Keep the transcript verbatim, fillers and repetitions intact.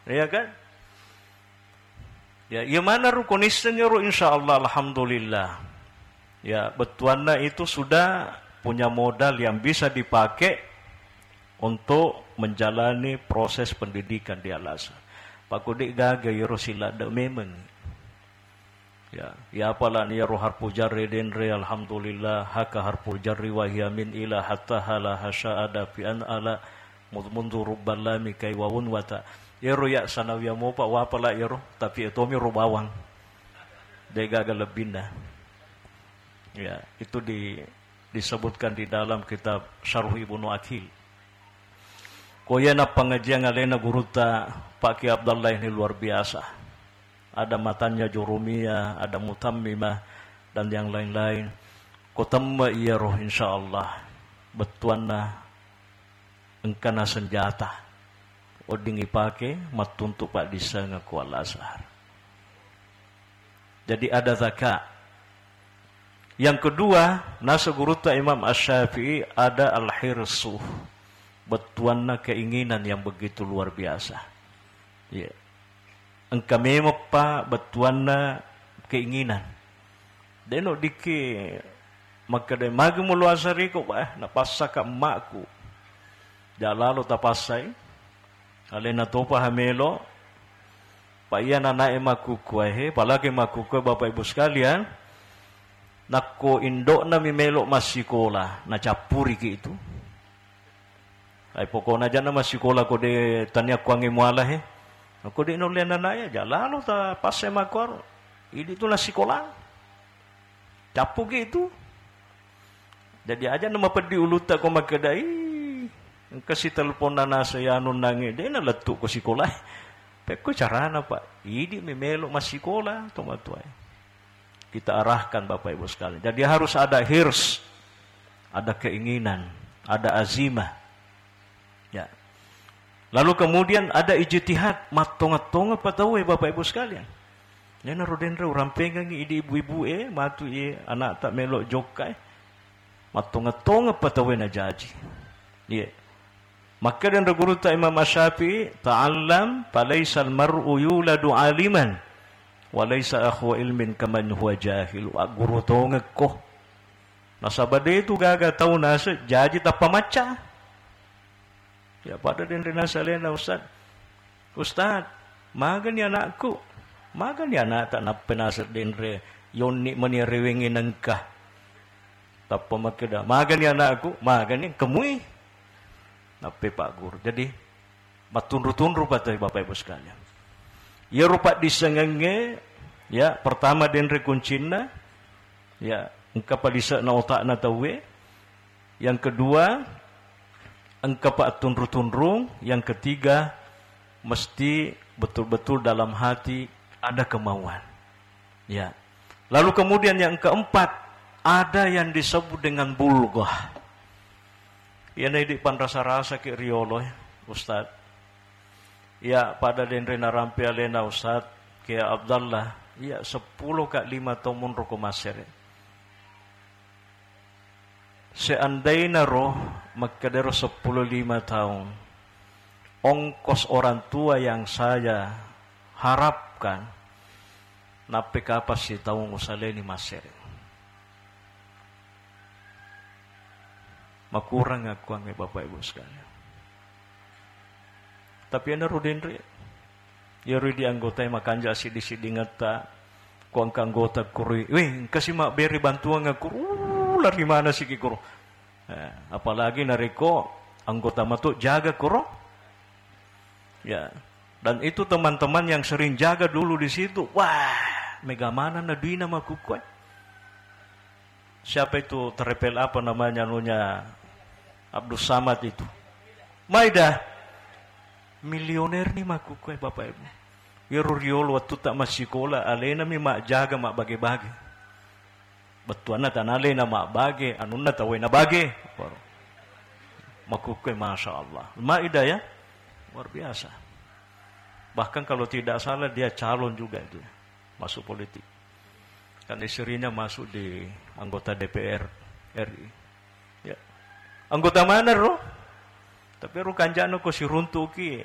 Iya kan? Ya, iya mana ro konisseng ro, insya Allah, alhamdulillah. Ya, bettuanna itu sudah punya modal yang bisa dipakai untuk menjalani proses pendidikan di Al-Azhar. Pakko de' gaga iyaro siladde' memeng. Ya, ya apalani iyaro harfu jarri denre, alhamdulillah, haka harfu jarri wa hiya min ila hatta hala hasya ada fi an ala mud-, mundu rubban lami kai wawun wata. Iyaro ya sanawiyah mopa wapala iyaro, tapi etomi ro bawang. De' gaga lebbinna. Ya, itu di-, disebutkan di dalam kitab Syarh Ibnu Aqil. Ko iyana pengajian alena gurutta Pak Kiai Abdallah ini luar biasa. Ada matanya Jurumiyah, ada Mutammimah, dan yang lain-lain. Ko temme iyaro, insya Allah, bettuanna engkana senjata. Wedding ipake mattuntu paddissengeng ko Al-Azhar. Jadi ada zaka. Yang kedua, nasa gurutta Imam Asy-Syafi'i ada al-hirsu. Bettuanna keinginan yang begitu luar biasa. Iya. Engka memeppa bettuanna keinginan. Deno dikki makkeda, "Magi mulo asariko, bah, napassaka emmakku." Jalalo tapassai. Alena topa hamelo. Pa iya nanae makkukkuae, he, palagi makkukkuae, Bapak Ibu sekalian, nakko indo'na mi melo massikola, nacappuriki itu. Ai pokokna janna massikola ko de tania kuangnge muala he. Ko de nulle nanae, jalalo tapassai makkuaro. Idi tu nassikola. Cappuki itu. Jadi aja na mapeddi ulutta ko makkeda, "Ih, engka si telponna nase anu nange, de nalettu ko sikola." Pekko carana, Pak. Idi mi melo massikola to matuae. Kita arahkan Bapak Ibu sekalian. Jadi harus ada hirs, ada keinginan, ada azimah. Ya. Lalu kemudian ada ijtihad, mattonga-tonga pa tauwe, Bapak Ibu sekalian. Nena rodenre urampengengi idi ibu-ibu e, matu e, anakta melo jokka e. Mattonga-tonga pa tauwe najaji. Iya. Makkeda denre gurutta Imam Asy-Syafi'i, "Ta'allam, falaisal mar'u yuladu aliman, wa laisa akhwa ilmin kaman huwa jahil." Wa guru tongekko. Nasaba de tu gaga tau nase jaji tappa macca. Ya, pada denre nasa alena, Ustaz. "Ustaz, magani anakku?" Magani anakta nappa nasa denre, yonni mani rewengi nengka. Tappa makkeda, "Magani anakku?" "Magani kemui." Nappa Pak Guru. Jadi, mattunru-tunru pa tauwe, Bapak Ibu sekalian. Iyaro paddissengengnge, ya, pertama denre kuncinna, ya, engka palise'na otakna tauwe. Yang kedua, engka pa attunru-tunrung. Yang ketiga, mesti betul-betul dalam hati ada kemauan. Ya. Lalu kemudian yang keempat, ada yang disebut dengan bulghah. Iyana idi panrasa-rasa ki riolo, eh, Ustaz. Iya, pada denre narampe alena Ustaz, Kiai Abdallah, iya seppulo ka lima taung monro ko Masere. Seandaina ro makkedaro seppulo lima taung, ongkos orang tua yang saya harapkan, nappe kapang sitaung usaleni Masere. Makurang akuangnge Bapak Ibu sekalian. Tapi enaro denre, iyaro di anggotae makanja siddi-siddingetta, ko engka anggota kuro, "Weh, engka si mabbere bantuan kuro, uh, lari mana siki kuro." Eh, apalagi narekko anggota matu jaga kuro. Ya. Dan itu teman-teman yang sering jaga dulu di situ, wah, mega mana na duina makkukue. Siapa itu terepel apa namanya anunya Abdus Samad itu? Maeda. Milioner ni makkukue, Bapak Ibu. Iyaro riolo wettutta massikola, alena mi majjaga mabbage-bage. Bettuanna tana alena mabbage, anunna tauwe nabage. Makkukue, Masya Allah. Maeda ya? Luar biasa. Bahkan kalau tidak salah dia calon juga itu ya, masuk politik. Kan istrinya masuk di anggota D P R R I. Ya. Anggota mana ro? Tapi ro kanjana ko siruntuki,